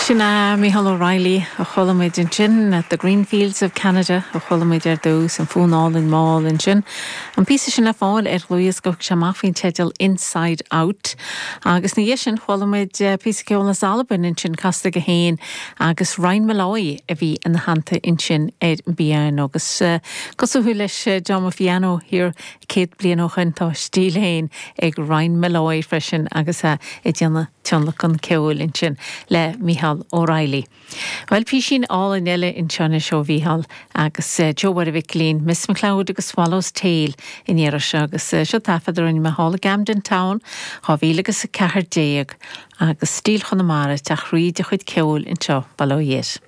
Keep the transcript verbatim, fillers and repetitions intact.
Sin é Mícheál O'Reilly a chuala muid ansin at the Greenfields of Canada a chuala muid ar dtús an fonn álainn mall ansin. An píosa sin le fáil ar dhlúthdhiosca sé amach faoin teideal Inside Out. Agus ina dhiaidh sin chuala muid píosa ceoil as Albain ansin casta aige féin agus Ryan Molloy a bhí ina theannta ansin ar an bpianó agus cosúil leis John Fiano thiar céad bliain ó shin tá stíl féin ag Ryan Molloy freisin agus é ag déanamh tionlacan ceoil ansin le Mícheál O'Reilly. Well písín álainn eile anseo ó Mhícheál agus Joe Mháire Mhic Ailín, Miss McLeod agus Swallow's Tail in iarra agus seo taifead a rinne mé thall i Camden Town, dhá mhíle agus a ceathair déag agus stíl Chonamara teach rí de chuid ceoil anseo bail ó Dhia air.